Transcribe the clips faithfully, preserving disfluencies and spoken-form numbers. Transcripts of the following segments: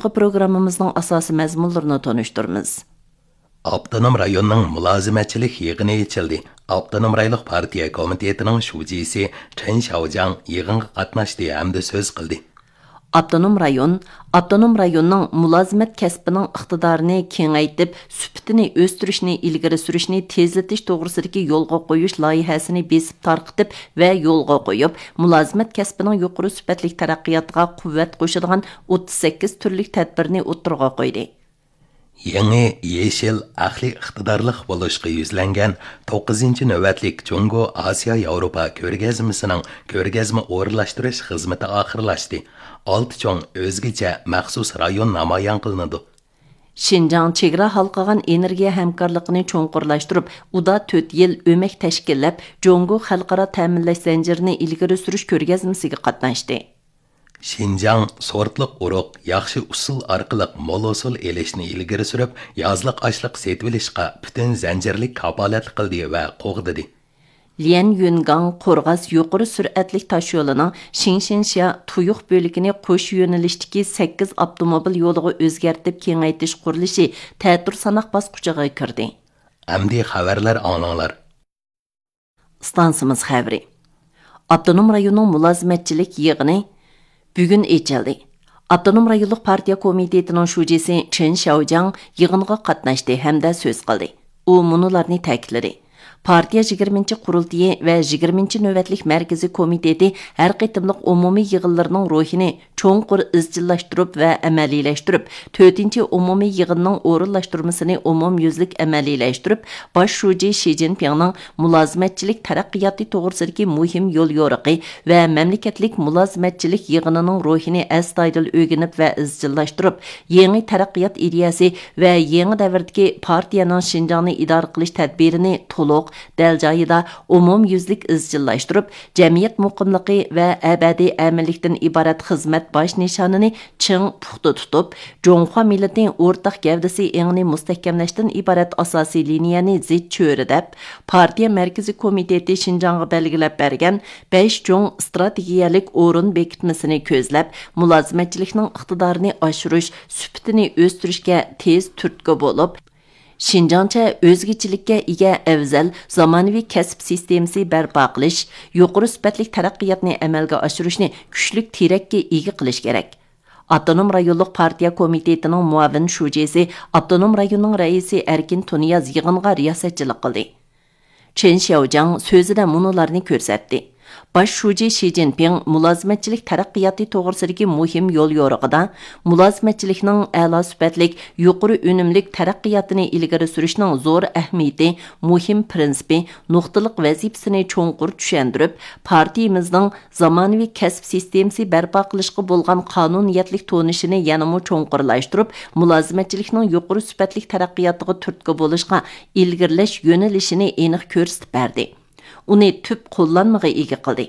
يۇقىرىقى پروگراممىمىزنىڭ ئاساسىي مەزمۇنلىرىنى تونۇشتۇرىمىز. ئاپتونوم رايوننىڭ مۇلازىمەتچىلىك يىغىنى ئېچىلدى. ئاپتونوم رايونلۇق پارتىيە كومىتېتىنىڭ شۇجىسى چېن شياۋجياڭ يىغىنغا قاتناشتى ھەمدە سۆز قىلدى. ئاپتونوم رايون، ئاپتونوم رايوننىڭ مۇلازىمەت كەسپىنىڭ ئىقتىدارىنى كېڭەيتىپ، سۈپىتىنى ئۆستۈرۈشنى ئىلگىرى سۈرۈشنى تېزلىتىش توغرىسىدىكى يولغا قويۇش لايىھەسىنى بېسىپ تارقىتىپ ۋە يولغا قويۇپ، مۇلازىمەت كەسپىنىڭ يۇقىرى سۈپەتلىك تەرەققىياتىغا قۇۋۋەت قوشىدىغان ئوتتۇز سەككىز تۈرلۈك تەدبىرنى ئوتتۇرىغا قويدى. يېڭى يېشىل ئەقلىي ئىقتىدارلىق بولۇشقا يۈزلەنگەن توققۇزىنچى نۆۋەتلىك جۇڭگو ئاسىيا ياۋروپا كۆرگەزمىسىنىڭ كۆرگەزمە ئورۇنلاشتۇرۇش خىزمىتى ئاخىرلاشتى. ئالتە چوڭ ئۆزگىچە مەخسۇس رايون نامايان قىلىنىدۇ. شىنجاڭ چېگرا ھالقىغان ئېنېرگىيە ھەمكارلىقىنى چوڭقۇرلاشتۇرۇپ، ئۇدا تۆت يىل ئۆمەك تەشكىللەپ، جۇڭگو خەلقئارا تەمىنلەش زەنجىرىنى ئىلگىرى سۈرۈش كۆرگەزمىسىگە قاتناشتى. شىنجاڭ سورتلۇق ئۇرۇق، ياخشى ئۇسۇل ئارقىلىق مول ھوسۇل ئېلىشنى ئىلگىرى سۈرۈپ، يازلىق ئاشلىق سېتىۋېلىشقا پۈتۈن زەنجىرلىك كاپالەتلىك قىلدى ۋە قوغدىدى. ليەن يۈنگاڭ قورغاس يۇقىرى سۈرئەتلىك تاشيولىنىڭ شىڭشىنشيا تۇيۇق بۆلىكىنى قوش يۆنىلىشتىكى سەككىز ئاپتوموبىل يولىغا ئۆزگەرتىپ كېڭەيتىش قۇرۇلۇشى تەتۈر ساناق باسقۇچىغا كىردى. ئەمدى خەۋەرلەر ئاڭلاڭلار. ئىستانسىمىز خەۋىرى. ئاپتونوم رايوننىڭ مۇلازىمەتچىلىك يىغىنى بۈگۈن ئېچىلدى. ئاپتونوم رايونلۇق پارتىيە كومىتېتىنىڭ شۇجىسى چېن شياۋجياڭ يىغىنغا قاتناشتى ھەمدە سۆز قىلدى. ئۇ مۇنۇلارنى تەكىتلىدى: پارتىيە يىگىرمىنچى قۇرۇلتىيى ۋە يىگىرمىنچى نۆۋەتلىك مەركىزىي كومىتېتى ھەر قېتىملىق ئومۇمىي يىغىنلىرىنىڭ روھىنى چوڭقۇر ئىزچىللاشتۇرۇپ ۋە ئەمەلىيلەشتۈرۈپ، تۆتىنچى ئومۇمىي يىغىننىڭ ئورۇنلاشتۇرمىسىنى ئومۇميۈزلۈك ئەمەلىيلەشتۈرۈپ، باش شۇجى شى جىنپىڭنىڭ مۇلازىمەتچىلىك تەرەققىياتى توغرىسىدىكى مۇھىم يوليورۇقى ۋە مەملىكەتلىك مۇلازىمەتچىلىك يىغىنىنىڭ روھىنى ئەستايىدىل ئۆگىنىپ ۋە ئىزچىللاشتۇرۇپ، يېڭى تەرەققىيات ئىدىيەسى ۋە يېڭى دەۋردىكى پارتىيەنىڭ شىنجاڭنى ئىدارە قىلىش تەدبىرىنى تولۇق، دەل جايىدا، ئومۇميۈزلۈك ئىزچىللاشتۇرۇپ، جەمئىيەت مۇقىملىقى ۋە ئەبەدىي ئەمىنلىكتىن ئىبارەت خىزمەت باش نىشانىنى چىڭ پۇختا تۇتۇپ، جۇڭخۇا مىللىتى ئورتاق گەۋدىسى ئېڭىنى مۇستەھكەملەشتىن ئىبارەت ئاساسىي لىنىيەنى زىچ چۆرىدەپ، پارتىيە مەركىزىي كومىتېتى شىنجاڭغا بەلگىلەپ بەرگەن بەش چوڭ ئىستراتېگىيەلىك ئورۇن بېكىتمىسىنى كۆزلەپ، مۇلازىمەتچىلىكنىڭ ئىقتىدارىنى ئاشۇرۇش، سۈپىتىنى ئۆستۈرۈشكە تېز تۈرتكە بولۇپ، شىنجاڭچە ئۆزگىچىلىككە ئىگە ئەۋزەل زامانىۋى كەسىپ سىستېمىسى بەرپا قىلىش، يۇقىرى سۈپەتلىك تەرەققىياتنى ئەمەلگە ئاشۇرۇشنى كۈچلۈك تىرەككە ئىگە قىلىش كېرەك. ئاپتونوم رايونلۇق پارتىيە كومىتېتىنىڭ مۇئاۋىن شۇجىسى، ئاپتونوم رايوننىڭ رەئىسى ئەركىن تۇنىياز يىغىنغا رىياسەتچىلىك قىلدى. چېن شياۋجياڭ سۆزىدە مۇنۇلارنى كۆرسەتتى. باش شۇجى شى جىنپىڭ مۇلازىمەتچىلىك تەرەققىياتى توغرىسىدىكى مۇھىم يوليورۇقىدا، مۇلازىمەتچىلىكنىڭ ئەلا سۈپەتلىك، يۇقىرى ئۈنۈملۈك تەرەققىياتىنى ئىلگىرى سۈرۈشنىڭ زور ئەھمىيىتى، مۇھىم پىرىنسىپى، نۇقتىلىق ۋەزىپىسىنى چوڭقۇر چۈشەندۈرۈپ، پارتىيىمىزنىڭ زامانىۋى كەسىپ سىستېمىسى بەرپا قىلىشقا بولغان قانۇنىيەتلىك تونۇشىنى يەنىمۇ چوڭقۇرلاشتۇرۇپ، مۇلازىمەتچىلىكنىڭ يۇقىرى سۈپەتلىك تەرەققىياتىغا تۈرتكە بولۇشقا ئىلگىرىلەش يۆنىلىشىنى ئېنىق كۆرسىتىپ بەردى. ئۇنى تۈپ قوللانمىغا ئىگە قىلدى.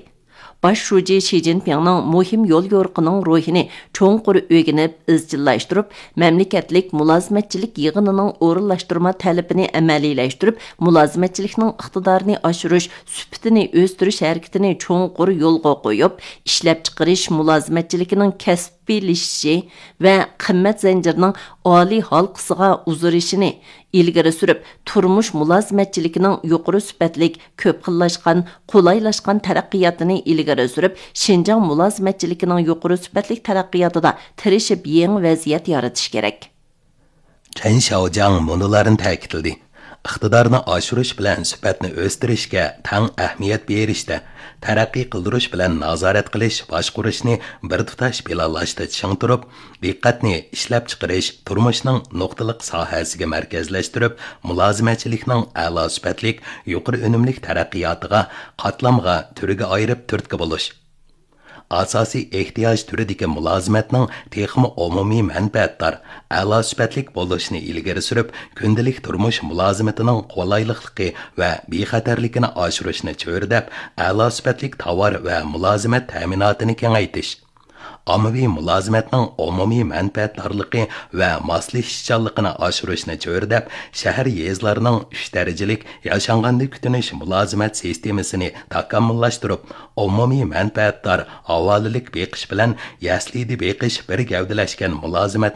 باش شۇجى شى جىنپىڭنىڭ مۇھىم يوليورۇقىنىڭ روھىنى چوڭقۇر ئۆگىنىپ، ئىزچىللاشتۇرۇپ، مەملىكەتلىك مۇلازىمەتچىلىك يىغىنىنىڭ ئورۇنلاشتۇرما تەلىپىنى ئەمەلىيلەشتۈرۈپ، مۇلازىمەتچىلىكنىڭ ئىقتىدارىنى ئاشۇرۇش، سۈپىتىنى ئۆستۈرۈش ھەرىكىتىنى چوڭقۇر يولغا قويۇپ، ئىشلەپچىقىرىش مۇلازىمەتچىلىكىنىڭ كەسىپلىشىشى ۋە قىممەت زەنجىرىنىڭ ئالىي ھالقىسىغا ئۇزىرىشىنى ئىلگىرى سۈرۈپ، تۇرمۇش مۇلازىمەتچىلىكىنىڭ يۇقىرى سۈپەتلىك، كۆپ خىللاشقان، قولايلاشقان تەرەققىياتىنى ئىلگىرى سۈرۈپ، شىنجاڭ مۇلازىمەتچىلىكىنىڭ يۇقىرى سۈپەتلىك تەرەققىياتىدا تىرىشىپ يېڭى ۋەزىيەت يارىتىش كېرەك. چەن شياۋجياڭ مۇنۇلارنى تەكىتلىدى: ئىقتىدارنى ئاشۇرۇش بىلەن سۈپەتنى ئۆستۈرۈشكە تەڭ ئەھمىيەت بېرىشتە، تەرەققىي قىلدۇرۇش بىلەن نازارەت قىلىش، باشقۇرۇشنى بىر تۇتاش پىلانلاشتا چىڭ تۇرۇپ، دىققەتنى ئىشلەپچىقىرىش، تۇرمۇشنىڭ نۇقتىلىق ساھەسىگە مەركەزلەشتۈرۈپ، مۇلازىمەتچىلىكنىڭ ئەلا سۈپەتلىك، يۇقىرى ئۈنۈملۈك تەرەققىياتىغا قاتلامغا، تۈرگە ئايرىپ تۈرتكە بولۇش. ئاساسىي ئېھتىياج تۈرىدىكى مۇلازىمەتنىڭ تېخىمۇ ئومۇمىي مەنپەئەتدار، ئەلا سۈپەتلىك بولۇشىنى ئىلگىرى سۈرۈپ، كۈندىلىك تۇرمۇش مۇلازىمىتىنىڭ قولايلىقلىقى ۋە بىخەتەرلىكىنى ئاشۇرۇشنى چۆرىدەپ، ئەلا سۈپەتلىك تاۋار ۋە مۇلازىمەت تەمىناتىنى كېڭەيتىش، ئاممىۋى مۇلازىمەتنىڭ ئومۇمىي مەنپەئەتدارلىقى ۋە ماسلىشىشچانلىقىنى ئاشۇرۇشنى چۆرىدەپ، شەھەر، يېزىلارنىڭ ئۈچ دەرىجىلىك ياشانغاندا كۈتۈنۈش مۇلازىمەت سىستېمىسىنى تاكامۇللاشتۇرۇپ، ئومۇمىي مەنپەئەتدار ھاۋالىلىك بېقىش بىلەن يەسلىدە بېقىش بىر گەۋدىلەشكەن مۇلازىمەتنى